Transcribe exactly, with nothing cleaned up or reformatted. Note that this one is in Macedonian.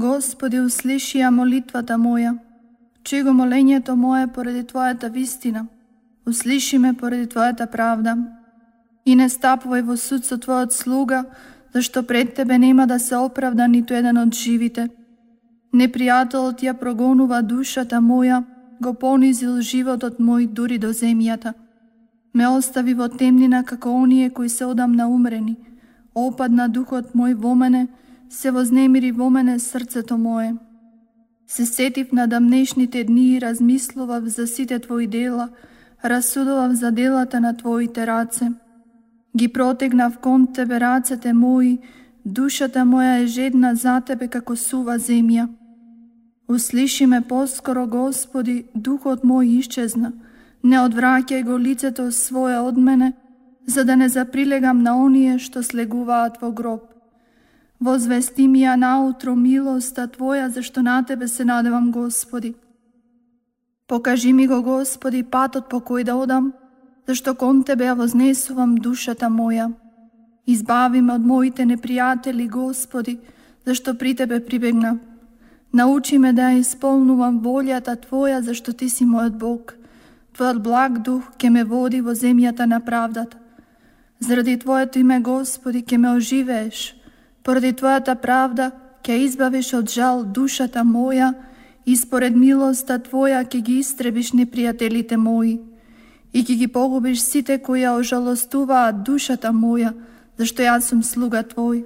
Господи, услиши ја молитвата моја. Чуј го молењето мое поради Твојата вистина. Услиши ме поради Твојата правда. И не стапувај во суд со Твојот слуга, зашто пред Тебе нема да се оправда ниту еден од живите. Непријателот ја прогонува душата моја, го понизил животот мој дури до земјата. Ме остави во темнина како оние кои се одамна умрени. Опадна духот мој во мене, се вознемири во мене срцето мое. Се сетив на дамнешните дни и размислував за сите Твои дела, расудував за делата на Твоите раце. Ги протегнав кон Тебе рацете мои, душата моја е жедна за Тебе како сува земја. Услиши ме поскоро, Господи, духот мој исчезна. Не одвраќај го лицето свое од мене, за да не заприлегам на оние што слегуваат во гроб. Возвести ми ја наутро милоста Твоја, зашто на Тебе се надевам, Господи. Покажи ми го, Господи, патот по кој да одам, зашто кон Тебе ја вознесувам душата моја. Избави ме од моите непријатели, Господи, зашто при Тебе прибегнав. Научи ме да ја исполнувам волјата Твоја, зашто Ти си мојот Бог. Твојот благ дух ќе ме води во земјата на правдата. Заради Твоето име, Господи, ќе ме оживееш. Поради Твојата правда ќе избавиш од жал душата моја и според милоста Твоја ќе ги истребиш непријателите мои и ќе ги погубиш сите кои ја ожалостуваат душата моја, зашто јас сум слуга Твој.